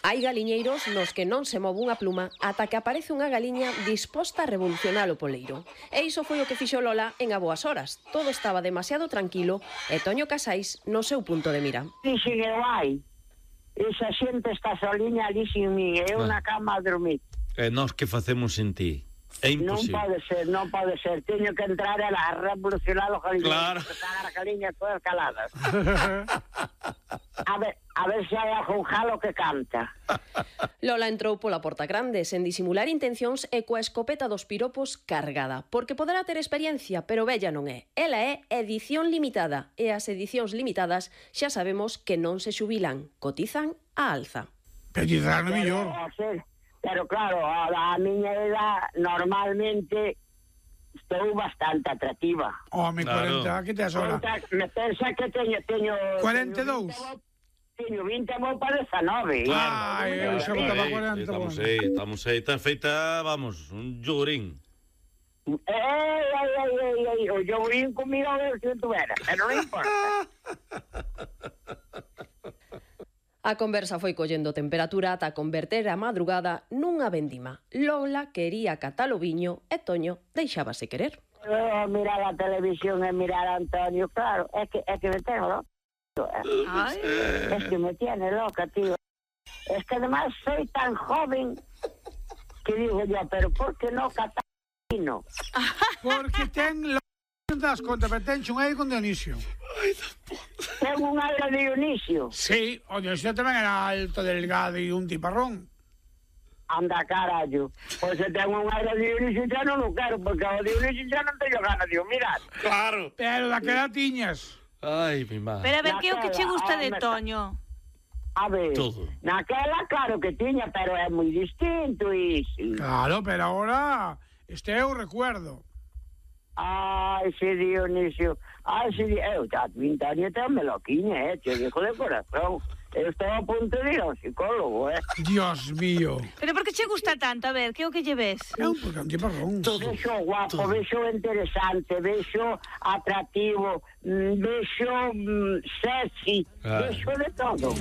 Hai galiñeiros nos que non se move unha pluma ata que aparece unha galiña disposta a revolucionar o poleiro. E iso foi o que fixo Lola en A Boas Horas. Todo estaba demasiado tranquilo e Toño Casais no seu punto de mira. Dixen eu, ai, esa xente está soliña ali sin mí, eu na cama a dormir. E nós que facemos sin ti? É imposible. Non pode ser. Teño que entrar a revolucionar os galiños. Claro. As galiñas todas caladas. A ver se hai algún jalo que canta. Lola entrou pola porta grande, sen disimular intencións e coa escopeta dos piropos cargada, porque poderá ter experiencia, pero bella non é. Ela é edición limitada, e as edicións limitadas xa sabemos que non se xubilan, cotizan a alza. Petizar no millor. Pero claro, a miña edad normalmente estou bastante atractiva. Home, 40, que te as hora? Me pensa que teño 42? Teño 20, vou para 19. Ai, eu xa botaba 40. Estamos aí, tan feita, vamos, un yogurín. O yogurín comigo a ver se tuvera, pero non importa. A conversa foi collendo temperatura ata converter a madrugada nunha vendima. Lola quería catar o viño e Toño deixábase querer. Mirar a televisión e mirar a Antonio, claro, é que me tengo loca. Es que me tiene loca, tío. Es que además soy tan joven que digo yo, pero ¿por qué no catar vino? Porque ten non das conta, pero ten un aire con Dionisio. Ten un aire de Dionisio. Sí, o Dionisio tamén era alto, delgado e un tiparrón. Anda, carallo. Pois se ten un aire de Dionisio xa non o quero, porque o Dionisio xa non teño ganas de mirar. Claro. Pero daquela tiñas. Ai, mi má. Pero a ver, que é o que che gusta de Toño? A ver, todo. Naquela claro que tiña, pero é moi distinto iso. Claro, pero agora este é o recuerdo. Ai, ese Dionisio. Ai, ese Dionisio. Eu xa 20 anos tenho meloquiña, te digo de corazón. Eu estou a punto de ir ao psicólogo, Dios mío. Pero por que che gusta tanto? A ver, que é o que lle ves? É un porque é un tiparrón. Vexo guapo, vexo interesante, vexo atractivo, vexo sexy, vexo de todo.